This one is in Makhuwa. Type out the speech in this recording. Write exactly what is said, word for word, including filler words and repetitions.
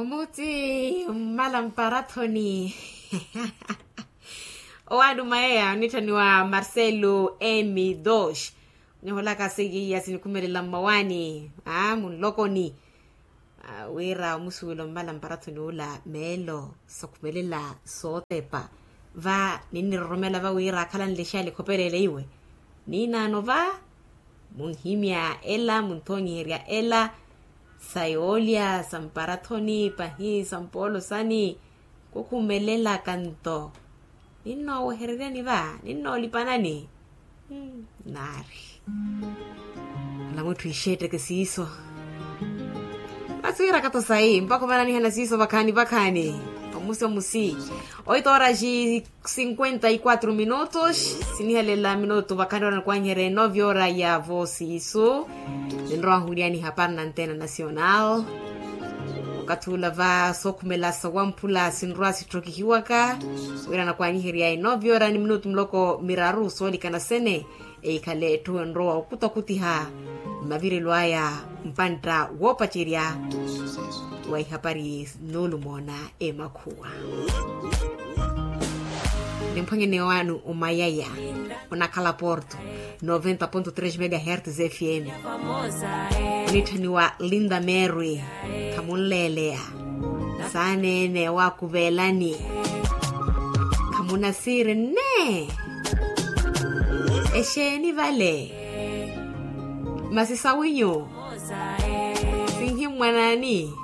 Omuti mmala mparathoni. Owaani omayeya onitthaniwa marcelo m dos. Oniholaka seiya sinikhumelela mmawaani a munlokoni. Wira omusuwela ommala mparathoni ula meelo sokhumelela sootepa. Va ninniroromela va wira akhalanle xaali khopeleela iwe. Niinaano va munhimya ela munthonyiherya ela sa yoolya sa mparathoni pahi sa mpoolo sani. Khukhumelelaka nto ninnoowehereryani va ninnoolipanani. Naari ola mwitthu ixeetteke siiso. Masi wiirakatho sayi mpakha omananihana siiso vakhaani vakhaani. Omusi omusi oito horas e cinquenta e quatro minutos. Sinihelela minutu vakhaani ora nikwanyiherya enove hora ya vo siiso. Ninrowa nhuwiliyani hapari na antena nacional. Okathi ula va sookhumela sawamphula sinrowa sitthokihiwaka wira nakwanyiherya enove hora ni minutu muloko miraru soolikana sene. Ehikhale etthu enrowa okutakuti ha mmavirelo aya mpantta woopacerya wa ihapari nuulumoona emakhuwa. Nimphwanyene waanu omayaya onakhala porto noventa ponto tres megahertz fm. Onitthaniwa linda merwi khamunleeleya saaneene waakuvelani. Khamunasiiri nne exeeni vale masi sawinyu sinhimmwanani.